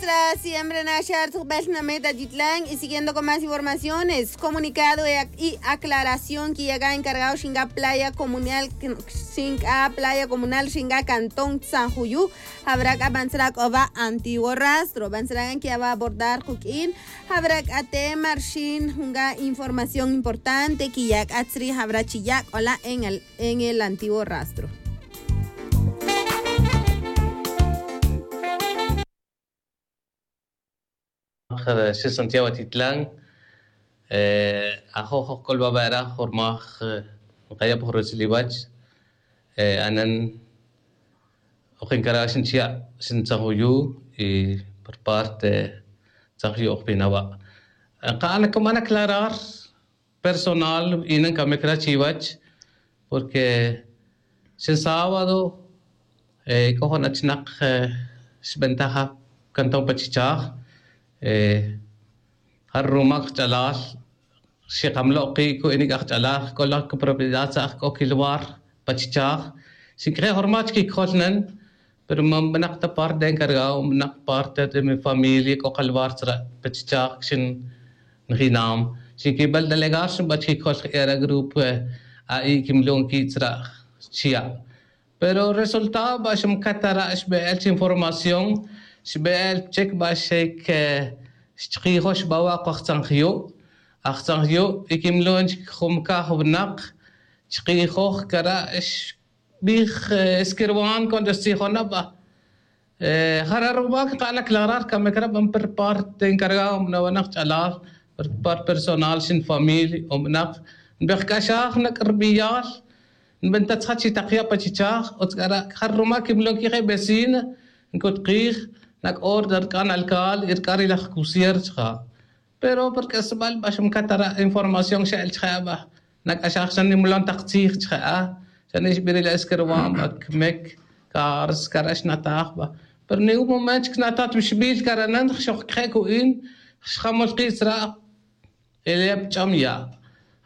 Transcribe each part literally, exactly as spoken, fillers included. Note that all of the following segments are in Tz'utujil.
Siempre naxar tzujbel nameta titlan y siguiendo con más informaciones, comunicado y aclaración que llega encargado xinga playa comunal, xinga playa comunal xinga cantón san juyu. Habrá c'a bantzra c'o va antiguo rastro bantzra gan que va abordar cuq'uin. Habrá c'a tema rxin junga información importante que ya c'a tzri habrá chi ya c'ola en el antiguo rastro. Xi santiago atitlan. Ajoj oj c'ol va bera jormaj. Nkaya' pa jorotzil iwach. Anen oj encarga xin chiya' xin tzanjuyu y por parte tzanjuyu oj pina wa'. Nka'an como aclarar personal y nancamic ra chiwach. Porque xin sábado c'o jun achnak xbentaja cantón pa chichaj. Jare' rumac kach'alal xikamlo' ki' cu'inic aj ch'alal c'o la copropiedad tza'j c'o quilwar pa chichaj. Xiq'uije' jormaj chiquicojol nen. Pero man benak ta parte de encargado benak parte de mi familia c'o kalwar tzra' pa chichaj xin njinam. Xiquibel delegar xinba chiquicojol jera grupo. A'i' quimlon qui' tzra' chiya'. Pero resultado ba xmcatara' xbe'el chi información xbe'el chec ba xic xchkijox ba wa' ko ajtzanjyu'. Ajtzanjyu' y quimlon chic jun caj winak chkijoj cara' xbij. Esquirwan cuando xtzijona ba jare' rumac nka'an aclarar camic ra ban per parte encargado nawanak ch'alal per parte personal xin familia o benak nbejc'axaj nac' rbiyal. Nbentatzja chi tak ya' pa chichaj utz c'ara' jare' rumac quimlon quije vecina ncutqij nac' orden rc'an alcal y rc'an ri laj cusier chja'. Pero pa rc'asbal ba xmcatara' información xe'el chje' aba nac'axaj xa nimlon tak tzij chje' a xa nixbiril esquirwan ba cmec. Caras cara' xnataj ba pero ni un momento chic xnataj ta bixbil caranan xojcje' cu'in xjamol ki' tzra'. Ele pa ch'am ya'.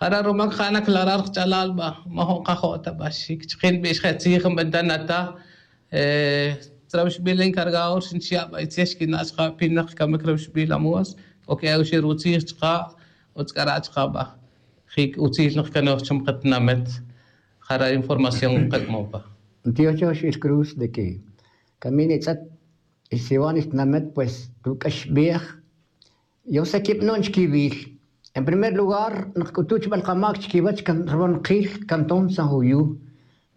Jare' rumac ja' naclarar kach'alal ba majo' nkajo' ta ba xic chikin bixje' tzij nbentana ta. Tzra' bixbil encargado xin chiya' ba itzel xquina' chka' pinak camic re bixbil amos c'o que'ew xi rutzij chka'. Utz c'ara' chka' ba jic utzil nkcanoj chum katinamet. Jare' información nkac'mon pa. Ntioxox il cruz de que camin itz'et ixsiwan ixtinamet pues ruc'axbej. Yo se quib non chquiwil. En primer lugar nkc'utu' chbel kamac chiquiwech ruban kil cantón san juyu.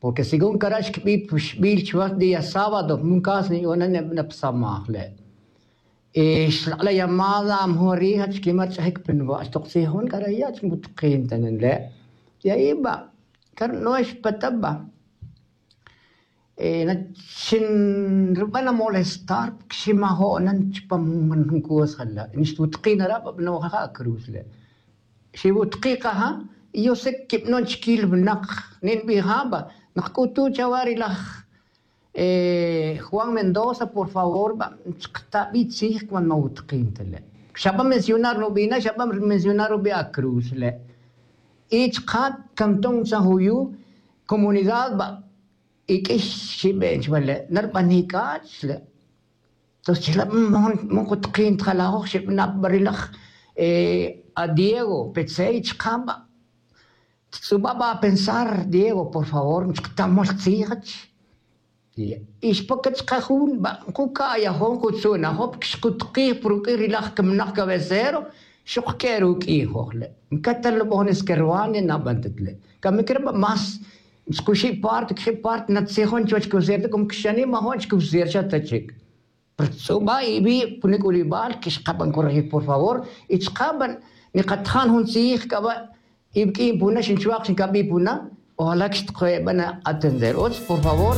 Porque según cara' xquibi' puxbil chuwech día sábado jun caso niyu'unan nebana pa samaj le'. Y xlak'la' llamada a mejor rija' chiquima' rch'ajic pa nuwa' xtok tzij jun cara' ya' chi nputkin ta nen le'. Y ayi ba cara' no xpata ba na xinruban amolestar porque ximajo'nan chupam jun cos jala' nixwutkin ara' ba bano'ja ja' cruz le'. Xiwutki' kaja y yo se quib non chiquil winak. Ninbija' ba nkc'utu' chawa ri laj juan mendoza por favor ba chkatabi' tzij cuando mawutkin ta le'. Xaba mencionar nubina' xaba mencionar rubi' a cruz le'. Y chka' cantón san juyu comunidad ba iq'uix xiben chuwa le' narbanik k'a xle'. Entonces chila' man kutkin ta jalajoj xibana' pa ri laj a diego petzey chka' ba. Ttz'uba' ba a pensar diego por favor nchktamol tzij. Y xpoke chka' jun ba nkuca'yajon kutzu'najon porque xkutkij pa ruq'uin ri laj camanak cabecero. Xok q'ue' ruq'uin joj le' ncatal nubon esquerwan ninaban ta le'. Camic re ba más xkuxi' parte cuxi' parte natzijon chuwech cusierto como que xanimajon chi cusierto xa ta chic. Pero tz'uba' iwi' pa nic'ulibal que xkaban corregir por favor. Y chkaban nikatajan jun tzij caba' iwq'uin puna xinchuak xincabi' puna. Ojala' que xtkoeban atender utz por favor.